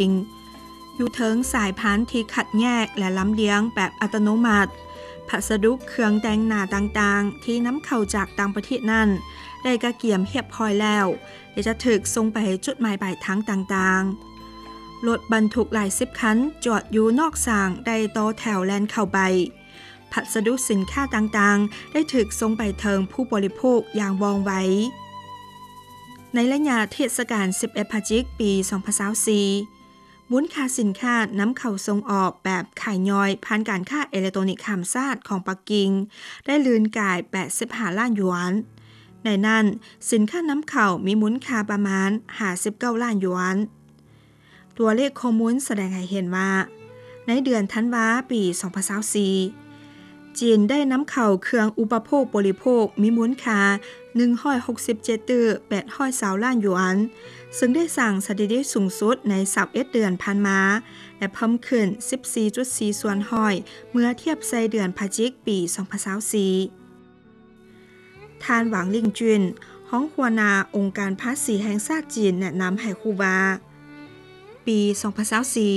ງ ຢູ່ເທິງສາຍພັນທີ່ຄັດແຍກ ແລະ ລຳລຽງແບບອັດຕະໂນມັດ. ພັດສະດຸເຄື່ອງແຕ່ງໜ້າຕ່າງໆ ທີ່ນຳເຂົ້າຈາກຕ່າງປະເທດນັ້ນ ໄດ້ກະກຽມຮຽບຮ້ອຍແລ້ວ ແລະ ຈະຖືກສົ່ງໄປຈຸດໝາຍປາຍທາງຕ່າງໆ. ລົດບັນທຸກຫຼາຍສິບຄັນ ຈອດຢູ່ນອກສາງ ໄດ້ຕໍ່ແຖວແລ່ນເຂົ້າໄປ. ພັດສະດຸສິນຄ້າຕ່າງໆ ໄດ້ຖືກສົ່ງໄປເຖິງຜູ້ບໍລິໂພກຢ່າງວ່ອງໄວ. ໃນໄລຍະເທດສະການສິບເອັດພະຈິກ ປີສອງພັນຊາວສີ່ ມູນຄ່າສິນຄ້ານຳເຂົ້າສົ່ງອອກແບບຂາຍຍ່ອຍ ຜ່ານການຄ້າເອເລັກໂຕນິກຂ້າມຊາດຂອງປັກກິ່ງ ໄດ້ລື່ນກາຍແປດສິບຫ້າລ້ານຢວນ. ໃນນັ້ນ, ສິນຄ້ານຳເຂົ້າມີມູນຄ່າປະມານຫ້າສິບເກົ້າລ້ານຢວນ. ຕົວເລກຂໍ້ມູນສະແດງໃຫ້ເຫັນວ່າ, ໃນເດືອນທັນວາ ປີສອງພັນຊາວສີ່ ຈີນໄດ້ນຳເຂົ້າເຄື່ອງອຸປະໂພກບໍລິໂພກມີມູນຄ່າໜຶ່ງຮ້ອຍຫົກສິບເຈັດຕື້ແປດຮ້ອຍຊາວລ້ານຢວນ, ເຊິ່ງໄດ້ສ້າງສະຖິຕິສູງສຸດໃນຊາວເອັດເດືອນຜ່ານມາ ແລະ ເພີ່ມຂຶ້ນສິບສີ່ຈຸດສີ່ສ່ວນຮ້ອຍ ເມື່ອທຽບໃສ່ເດືອນພະຈິກ ປີສອງພັນຊາວສີ່. ທ່ານ ຫວັງ ລິງຈຸນ ຮອງຫົວໜ້າອົງການພາສີແຫ່ງຊາດຈີນ ແນະນຳໃຫ້ຮູ້ວ່າ, ປີສອງພັນຊາວສີ່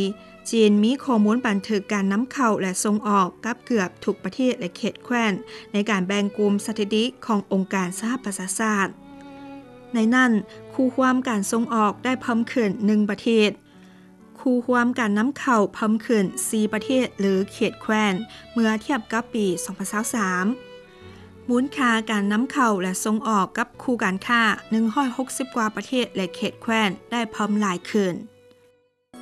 ຈີນມີຂໍ້ມູນບັນທຶກການນຳເຂົ້າ ແລະ ສົ່ງອອກກັບເກືອບທຸກປະເທດ ແລະ ເຂດແຄວ້ນ ໃນການແບ່ງກຸ່ມສະຖິຕິຂອງອົງການສະຫະປະຊາຊາດ. ໃນນັ້ນ, ຄູ່ຮ່ວມການສົ່ງອອກໄດ້ເພີ່ມຂຶ້ນໜຶ່ງປະເທດ, ຄູ່ຮ່ວມການນຳເຂົ້າເພີ່ມຂຶ້ນສີ່ປະເທດ ຫຼື ເຂດແຄວ້ນ ເມື່ອທຽບກັບປີສອງພັນຊາວສາມ. ມູນຄ່າການນຳເຂົ້າ ແລະ ສົ່ງອອກກັບຄູ່ການຄ້າໜຶ່ງຮ້ອຍຫົກສິບກວ່າປະເທດ ແລະ ເຂດແຄວ້ນ ໄດ້ເພີ່ມຫຼາຍຂຶ້ນ.